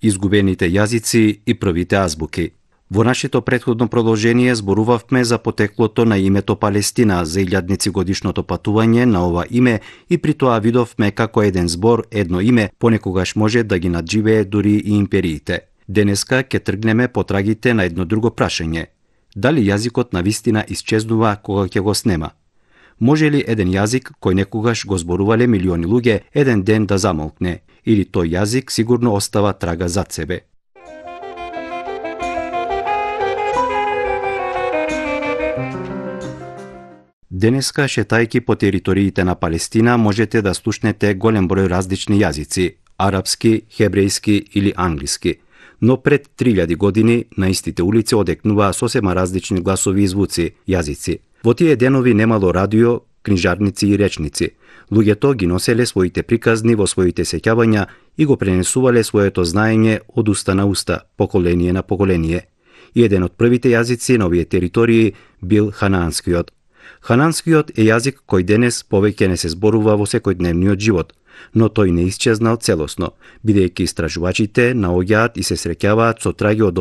изгубените јазици и првите азбуки. Во нашето претходно продолжение зборувавме за потеклото на името Палестина, за илјадници годишното патување на ова име и при тоа видовме како еден збор, едно име, понекогаш може да ги надживее дури и империите. Денеска ќе тргнеме по трагите на едно друго прашање. Дали јазикот на вистина исчезнува кога ќе го снема? Може ли еден јазик кој некогаш го зборувале милиони луѓе еден ден да замолкне? Или тој јазик сигурно остава трага зад себе? Денеска, шетајки по териториите на Палестина, можете да слушнете голем број различни јазици – арапски, хебрејски или англиски. Но пред 3000 години на истите улици одекнуваа сосема различни гласови и звуци, јазици. Во тие денови немало радио, книжарници и речници. Луѓето ги носеле своите приказни во своите сеќавања и го пренесувале своето знаење од уста на уста, поколение на поколение. И еден од првите јазици на овие територии бил ханаанскиот. Хананскиот е јазик кој денес повеќе не се зборува во секојдневниот живот, но тој не исчезнал целосно, бидејќи истражувачите наоѓаат и се среќаваат со траги од